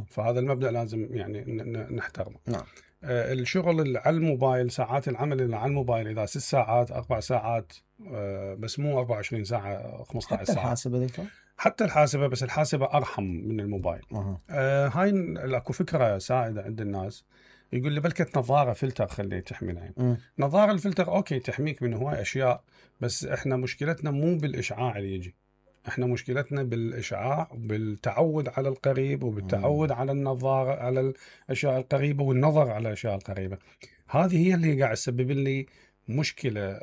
فهذا المبدأ لازم يعني نحترمه. نعم. الشغل اللي على الموبايل، ساعات العمل اللي على الموبايل إذا 6 ساعات 4 ساعات، بس مو 24 ساعة 15 حتى ساعة. الحاسبة دكتور؟ حتى الحاسبة، بس الحاسبة أرحم من الموبايل. هاي اكو فكرة سائدة عند الناس، يقول لي بلكت نظارة فلتر خليه تحمي العين. نظارة الفلتر أوكي تحميك من هواي أشياء، بس إحنا مشكلتنا مو بالإشعاع اللي يجي، احنا مشكلتنا بالاشعاع، بالتعود على القريب، وبالتعود على النظاره على الاشياء القريبه، والنظر على الاشياء القريبه. هذه هي اللي قاعد تسبب لي مشكله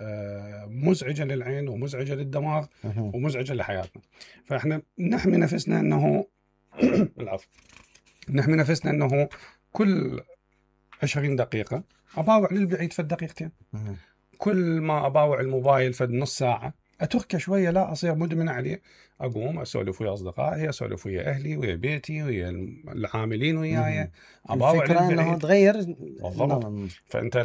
مزعجه للعين ومزعجه للدماغ ومزعجه لحياتنا. فاحنا نحمي نفسنا انه العفو، نحمي نفسنا انه كل 20 دقيقه اباوع للبعيد فد دقيقتين، كل ما اباوع الموبايل فد نص ساعه اتركه شويه، لا اصير مدمن عليه. اقوم اسولف ويا اصدقائي، اسولف ويا اهلي، ويا بيتي، ويا العاملين وياي، اباوع الفكره انه تغير بالضبط. فانت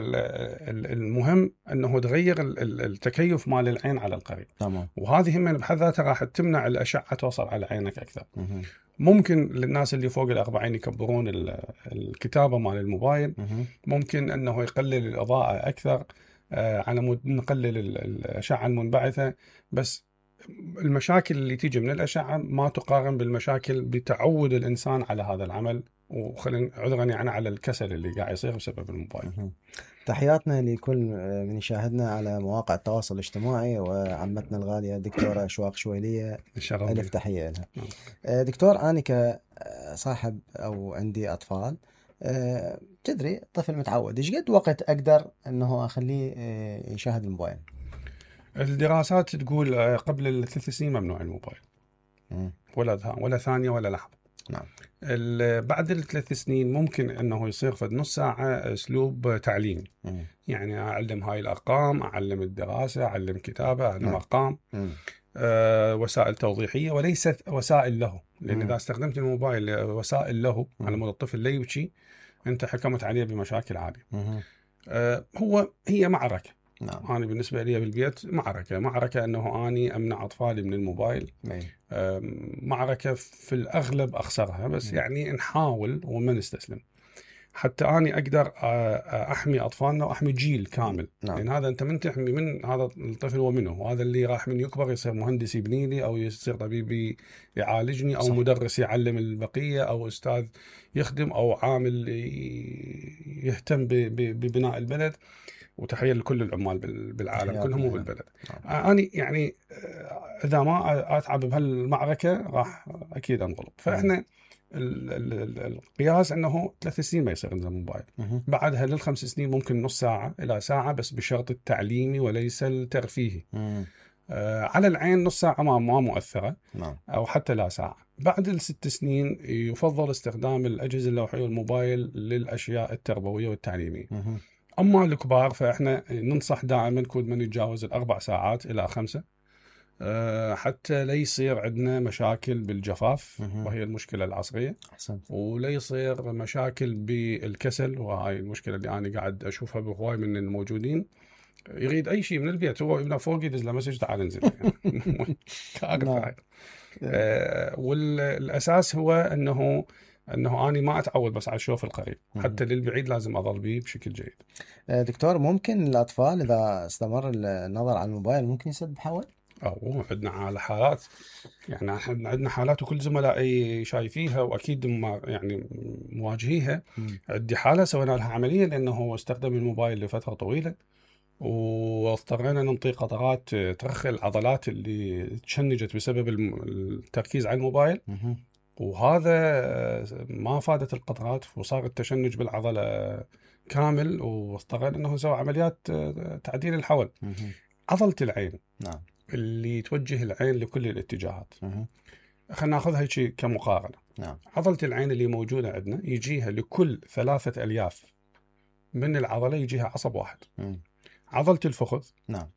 المهم انه تغير التكيف مال العين على القريب. تمام. وهذه من بحد ذاتها راح تمنع الاشعه توصل على عينك اكثر. ممكن للناس اللي فوق ال40 يكبرون الكتابه مال الموبايل، ممكن انه يقلل الاضاءه اكثر على مود نقلل الأشعة المنبعثة. بس المشاكل اللي تيجي من الأشعة ما تقارن بالمشاكل بتعود الإنسان على هذا العمل، وخلينا عذرا يعني على الكسل اللي قاعد يصير بسبب الموبايل. تحياتنا لكل من يشاهدنا على مواقع التواصل الاجتماعي، وعمتنا الغالية دكتورة أشواق شويلية، ألف تحية لها. دكتور، أنا كصاحب أو عندي أطفال، تدري طفل متعود، ايش قد وقت اقدر انه اخليه يشاهد الموبايل؟ الدراسات تقول قبل 3 سنين ممنوع الموبايل، ولا ثانية ولا لحظة. نعم. بعد ال3 سنين ممكن انه يصير فد نص ساعة اسلوب تعليمي، يعني اعلم هاي الارقام، اعلم الدراسة، اعلم كتابة، اعلم ارقام، وسائل توضيحية وليست وسائل له. لان اذا استخدمت الموبايل وسائل له على مود الطفل لا يبكي، انت حكمت عليه بمشاكل عالية. هي معركة. نعم. أنا بالنسبة لي بالبيت معركة أنه أني أمنع أطفالي من الموبايل. معركة في الأغلب أخسرها، بس يعني نحاول وما نستسلم حتى أني أقدر أحمي أطفالنا وأحمي جيل كامل. نعم. لأن هذا أنت من تحمي من هذا الطفل ومنه، وهذا اللي راح من يكبر يصير مهندس يبني لي، أو يصير طبيب يعالجني، أو صح. مدرس يعلم البقية، أو أستاذ يخدم، أو عامل يهتم ببناء البلد. وتحية لكل العمال بالعالم كلهم وبالبلد. أنا يعني إذا ما أتعب بهالمعركة راح أكيد أنغلب. فإحنا القياس أنه 3 سنين ما يصير عندنا موبايل، بعدها لل5 سنين ممكن نص ساعة إلى ساعة، بس بشرط التعليمي وليس الترفيهي. على العين نص ساعة ما مؤثرة، أو حتى لا ساعة. بعد ال6 سنين يفضل استخدام الأجهزة اللوحية والموبايل للأشياء التربوية والتعليمية. أما الكبار فإحنا ننصح دائما كل من يتجاوز 4 ساعات إلى 5، حتى لا يصير عندنا مشاكل بالجفاف، وهي المشكلة العصرية، ولا يصير مشاكل بالكسل، وهاي المشكلة اللي أنا قاعد أشوفها بهواي من الموجودين. يريد أي شيء من البيت، هو ابنه فوق يدز له مسج تعال انزل. والأساس هو أنه أنا ما أتعود بس على الشوف القريب، حتى للبعيد لازم أظل به بشكل جيد. دكتور، ممكن الأطفال إذا استمر النظر على الموبايل ممكن يسبب حول؟ عندنا على حالات، يعني احنا عندنا حالات وكل زملائي شايفيها، واكيد يعني مواجهيها. عندي حاله سوينا لها عمليه لانه استخدم الموبايل لفتره طويله، واضطرينا ننطي قطرات ترخي العضلات اللي تشنجت بسبب التركيز على الموبايل. وهذا ما فادت القطرات، وصار التشنج بالعضله كامل، واضطرينا انه نسوي عمليات تعديل الحول. عضله العين، نعم، اللي توجه العين لكل الاتجاهات. خلينا ناخذها هيك كمقارنة. نعم. عضلة العين اللي موجودة عندنا يجيها لكل 3 ألياف من العضلة يجيها عصب واحد. عضلة الفخذ، نعم،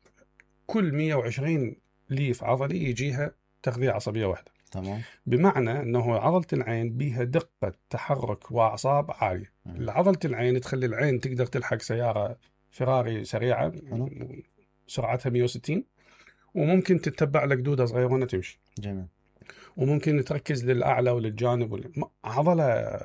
كل 120 ليف عضلي يجيها تغذية عصبية واحدة. تمام. بمعنى أنه عضلة العين بيها دقة تحرك وأعصاب عالية. عضلة العين تخلي العين تقدر تلحق سيارة فراري سريعة سرعتها 160، وممكن تتبع لك دودة صغيرة تمشي. جميل. وممكن تركز للاعلى وللجانب عضله